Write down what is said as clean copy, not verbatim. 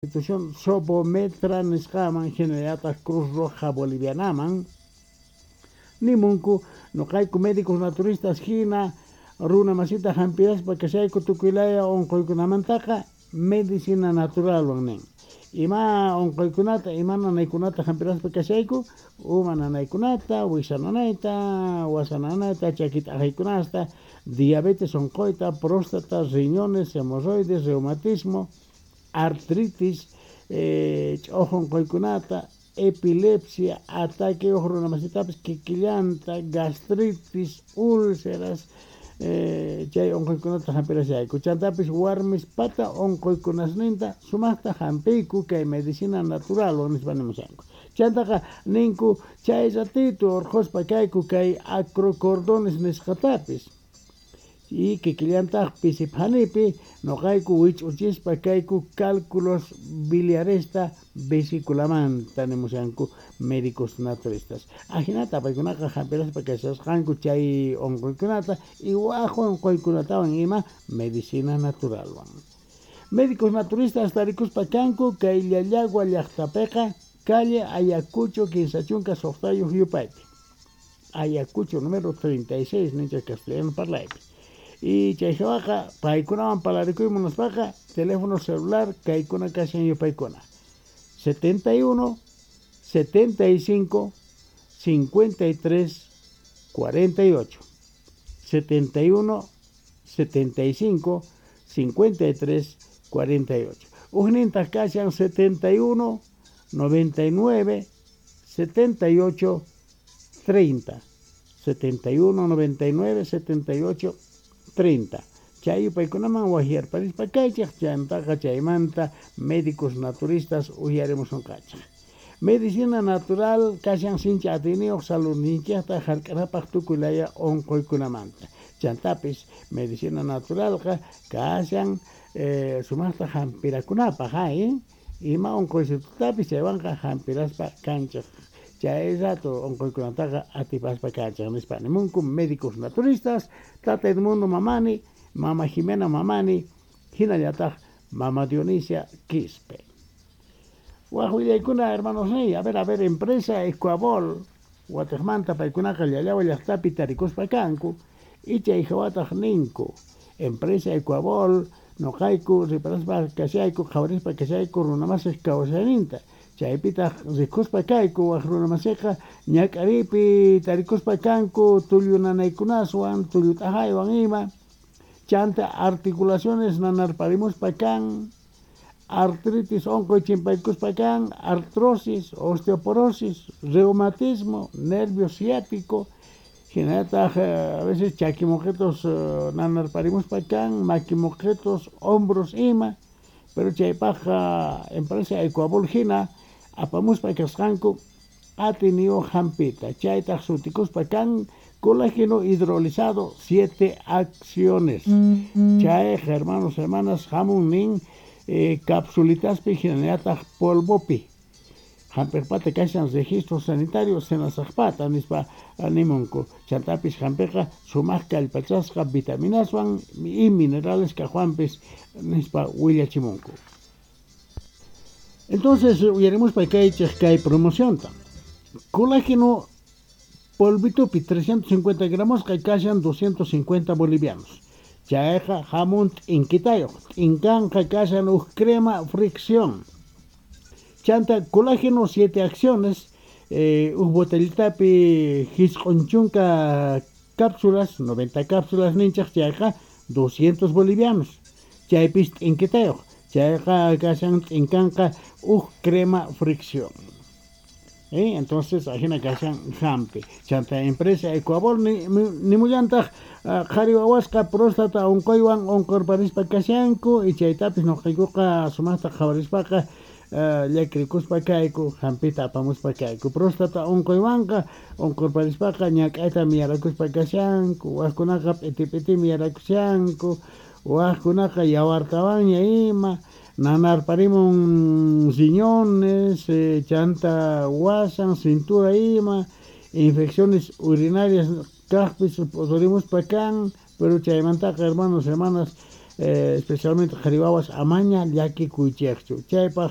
Institución Sobometra nisqaman, hinallataq Cruz Roja Bolivianaman nimunku: "Nuqayku médicos naturistas hina runa masita hampiraspa kashayku tukuylaya unquykunamantaqa medicina naturalwan", nin. Ima unquykunata, ima nanaykunata hampiraspa kashayku? Uma nanaykunata, wiksa nanayta, wasa nanayta, chaki t'aqaykunasta, diabetes unquyta, próstata, riñones, hemorroides, reumatismo, artritis, ch'uqu unquykunata, epilepsia, ataque runa masitapis kikillanta, gastritis, úlceras, chay unquykunata hampirashayku. Chantapis warmispata unquykunasninta sumaqta hampiyku kay medicina naturalwan, nispa nimushanku. Chantaqa ninku chay ratito urquspa kayku kay acrocordones nisqatapis y kikillantaq pisiphanipi nuqayku wich'uchispa kayku cálculos biliaresta vesiculamanta, nimushanku médicos naturistas. Ajinata paykunaqa hampiraspa kashasqanku chay unquykunata y waj unquykunatawan ima medicina naturalwan. Médicos naturistas tarikuspa kanku kay Llallagua llaqtapiqa, calle Ayacucho 36 yupaypi, Ayacucho número 36 ninchik castellano parlaypi. Y chay hawaqa paykunawan parlarikuy munaspaqa teléfono celular kaykuna kashan yupaykuna: 71 75 53 48, 71 75 53 48. Ujnintaq kashan 71 99 78 30, 71 99 78 30. Chay yupaykunaman waqyarparispa kaychik, chantaqa chaymanta médicos naturistas uyarimusunqachik. Medicina natural kashan sinchi atiyniyuq saludninchikta hark'anapaq tukuy laya unquykunamanta. Chantapis medicina naturalqa kashan sumaqta hampirakunapaq, hay ima unquysitutapis chaywanqa hampiraspa kanchik, chay rato unquykunataqa atipaspa kanchik, nispa nimunku médicos naturistas Tata Edmundo Mamani, Mama Jimena Mamani, hinallataq Mama Dionisia Quispe. Waj willaykuna, hermanos niy, a ver, a ver, empresa Ecuabol watiqmanta paykunaqa Llallagua llaqtapi tarikuspa kanku y chay hawataq ninku empresa Ecuabol: "Nuqayku riparaspa kashayku, qhawarispa kashayku runamasiq kawsayninta, chaypitaq rikuspa kayku wak runamasiqa ñak'ariypi tarikuspa kanku tullu nanaykunaswan, tullu t'aqaywan ima, chanta articulaciones nanarparimuspa kan, artritis unquy chimpaykuspa kan, artrosis, osteoporosis, reumatismo, nervio ciático, hinallataq a veces chaki muqitus nanarparimuspa kan, maki muqitus, hombros ima. Pero chaypaqqa empresa Ecuabol hina apamuspa kasqanku atiyniyuq hampita, chaytaq sutikuspa kan colágeno hidrolizado siete acciones. Chayqa, hermanos, hermanas, hamun nin capsulitaspi hinallataq polvopi. Hampiqpata kashan registro sanitario Senasaqpata, nispa nimunku. Chantapis hampiqa sumaq kallpachasqa vitaminaswan y minerales kaqwanpis, nispa willachimunku. Entonces uyarimuspa kaychik kay promocionta: colágeno polvitupi 350 gramos kashan 250 bolivianos. Chayqa hamun t'inkitayuq, t'inkanqa kashan huk crema fricción. Chanta colágeno 7 acciones, huk botellitapi 90 cápsulas, 90 cápsulas ninchik, chayqa 200 bolivianos. Chaypis t'inkitayuq, chayqa kashan t'inkanqa huk crema fricción. Entonces ajina kashan hampi. Chanta empresa Ecuabol nimullantaq qhari wawasqa próstata unquywan unqurparispa kashanku y chaytapis nuqaykuqa sumaqta qhawarispaqa llakirikuspa kayku, hampita apamuspa kayku. Próstata unquywanqa unqurparispaqa ñak'ayta miyarakuspa kashanku, waqkunaqa p'iti p'itimi yarakushanku, waqkunaqa yawartawanña ima, nanarparimun riñones, chanta wasan, cintura ima, infecciones urinarias kaqpis p'uturimuspa kan. Pero chaymantaqa, hermanos, hermanas, Especialmente qhari wawas amaña llakikuychikchu. Chaypaq.